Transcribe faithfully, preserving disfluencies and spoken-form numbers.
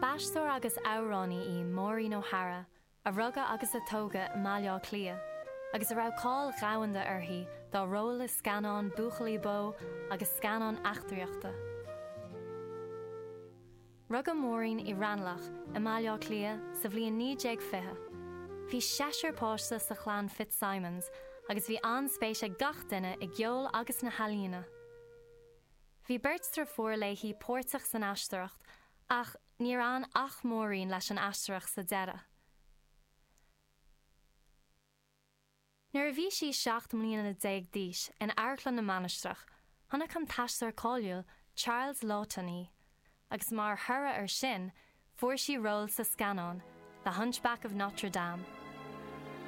B'aisteoir agus amhránaí í Maureen O'Hara, a rugadh agus a tógadh i mBaile Átha Cliath, agus a raibh cáil dhomhanda uirthi dá ról i scannáin buachaillí bó agus scannáin eachtraíochta. Rugadh Maureen i Raghnallach i mBaile Átha Cliath sa bhliain naoi déag fiche. Bhí seisear páiste sa chlann Fitzsimons agus bhí an-spéis ag gach duine i gceol agus na healaíona. Bhí beirt deirfiúr léi páirteach san aisteoireacht ach níor fhan ach Maureen leis an aisteoireacht sa deireadh. Nuair a bhí sí seacht mbliana déag d'aois in Amharclann na Mainistreach, chonaic an t-aisteoir cáiliúil Charles Laughton í, agus mar thoradh air sin, fuair sí ról sa scannán The Hunchback of Notre Dame.